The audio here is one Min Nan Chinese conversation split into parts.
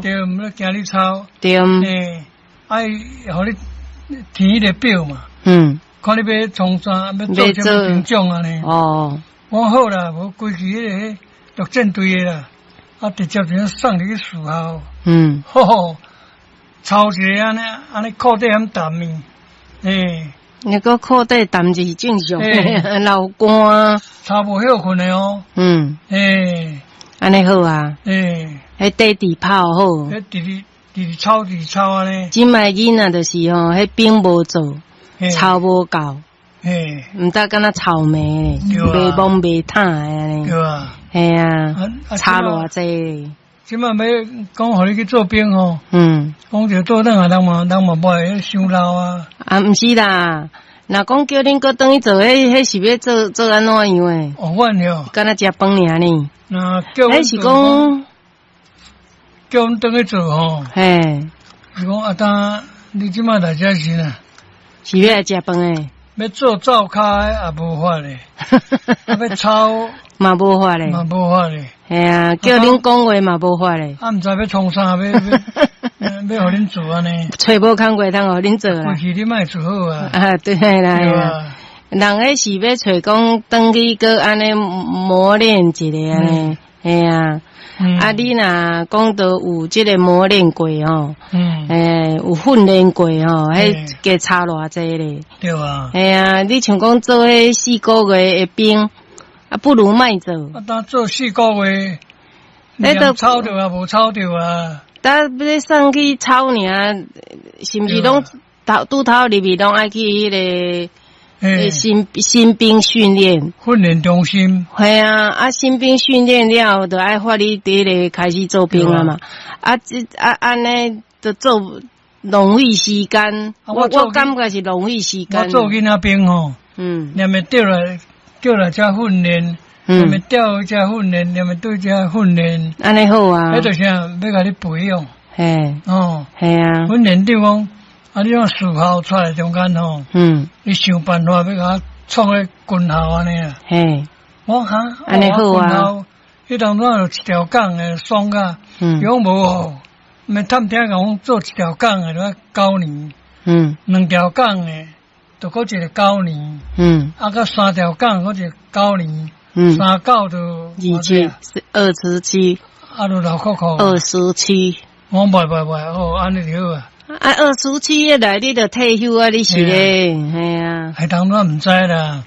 對，毋咧驚你臭。對。欸，愛予你填彼個表嘛。看你欲創啥，欲做啥物兵種按呢。我講好啦，無規矩彼個陸戰隊的啦，啊，直接就送入去士校。吼吼，操一个按呢，按呢褲底遐澹的，欸。那個褲底澹是正常的，流汗。操無歇睏的哦。欸。按呢好啊。欸。彼底直跑好。彼直直直操直操按呢。這擺囡仔就是吼，彼兵無做，操無夠。毋知敢若臭糜咧，袂摸袂歕的按呢。對啊。嘿啊，差偌濟。這擺欲講予你去做兵吼，講著倒轉來，人嘛無愛，傷老啊。啊，毋是啦，若講叫恁閣轉去做，彼是欲做做按怎樣的？哦，阮喲。敢若食飯爾呢？若叫彼是講叫阮轉去做吼。嘿。是講啊，當你這擺來遮時啊，是欲來食飯的？欲做灶跤的也無法咧，欲操嘛無法咧，嘛無法咧。嘿啊，叫恁講話嘛無法咧。啊，毋知欲創啥，欲欲予恁做按呢？揣無工課通予恁做啦。過去你莫做好啊。啊，對啦。人彼是欲揣講轉去閣按呢磨練一下按呢，嘿啊。啊，你若講著有這个磨練過吼，欸，有訓練過吼，彼加差偌濟咧。對啊。嘿啊，你像講做彼四個月的兵，啊，不如莫做。啊，當做四個月，彼都操著啊，無操著啊。但欲送去操爾，是毋是攏頭拄頭入去攏愛去彼个新兵訓練？訓練中心。嘿啊，啊，新兵訓練了，就愛發你佇彼个開始做兵啊嘛。啊，這啊按呢，就做浪費時間。我感覺是浪費時間。我做囡仔兵吼，連會調來叫來遮訓練，連會調去遮訓練，連會對遮訓練。按呢好啊。彼就是欲共你培養。嘿。哦。嘿啊。訓練長講，啊！你講士校出來中間吼，你想辦法欲共我創彼軍校按呢啊？嘿，我哈，按呢好啊。彼當陣有一條槓的爽甲，伊講無哦，欲探聽講做一條槓的，就愛9年，兩條槓的，就閣一個九年，啊，閣三條槓閣一個九年，三九就二七，27，啊，就六箍箍。27。我袂袂袂，哦，按呢就好啊。啊，27來你就退休啊！你是咧，嘿啊。彼當陣毋知啦，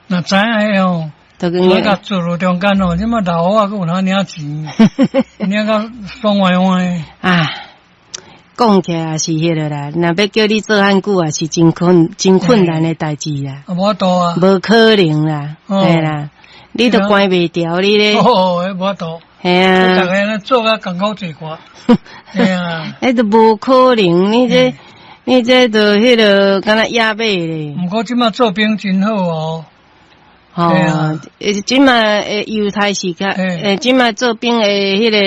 若知影彼吼，我共做落中間吼，這擺老虎仔閣有通領錢，領甲爽歪歪。啊，講起來也是彼个啦，若欲叫你做遐久也是真困難的代誌啦。啊，無法度啊。無可能啦，嘿啦，你都關袂牢你咧。哦，彼無法度。嘿啊。逐个做甲艱苦濟寡。嘿啊。彼都無可能，你這就彼个敢若野馬咧。毋過這擺做兵真好哦。吼，這擺的猶太是較，欸，這擺做兵的彼个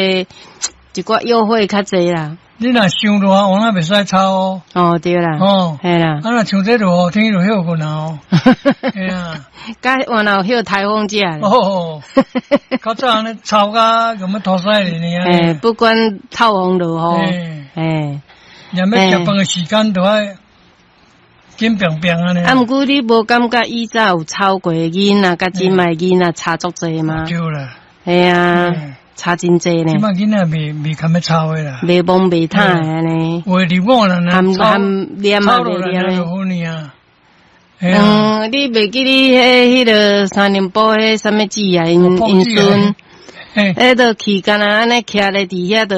一寡優惠較濟啦。你若傷熱，我那袂使操哦。哦，對啦。哦，嘿啦。啊，若像這落雨天就歇睏啊。嘿啊。佮原來有歇颱風假。哦。較早按呢操甲用欲塗屎哩爾。欸，不管透風落雨。欸。連欲食飯的時間都愛緊爿爿按呢。啊，毋過你無感覺以早有操過的囡仔，佮這擺囡仔差足濟嗎？對啦。嘿啊。差真濟呢。這擺囡仔袂堪欲操的啦。袂摸袂歕的按呢。有的入伍啦，含含念嘛袂念的。嗯，你袂記你彼彼个三重埔彼啥物姊啊？𪜶𪜶孫，彼都去敢若按呢徛咧佇遐就，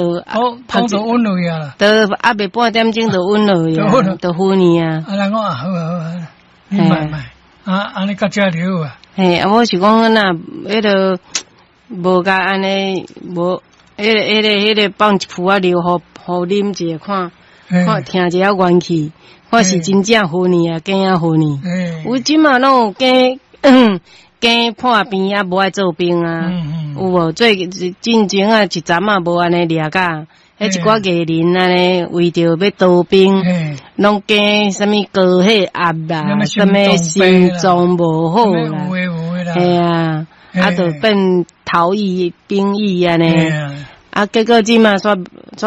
講就穩落去啊。都猶未半點鐘就穩落去啊，就昏去啊。啊，人講啊，好啊好啊，你莫莫，啊，按呢到遮就好啊。嘿，啊，我是講若彼个無共按呢，無，彼个放一浡仔尿，予啉一下看，看聽一下元氣，看是真正昏去啊，假仔昏去。有這馬攏有假破病啊，無愛做兵啊，有無？最進前啊，一陣仔無按呢掠甲，彼一寡藝人按呢，為著欲逃兵，攏驚啥物高血壓啦，啥物心臟無好啦，嘿啊，啊，就變逃逸兵役按呢，啊，結果這馬煞。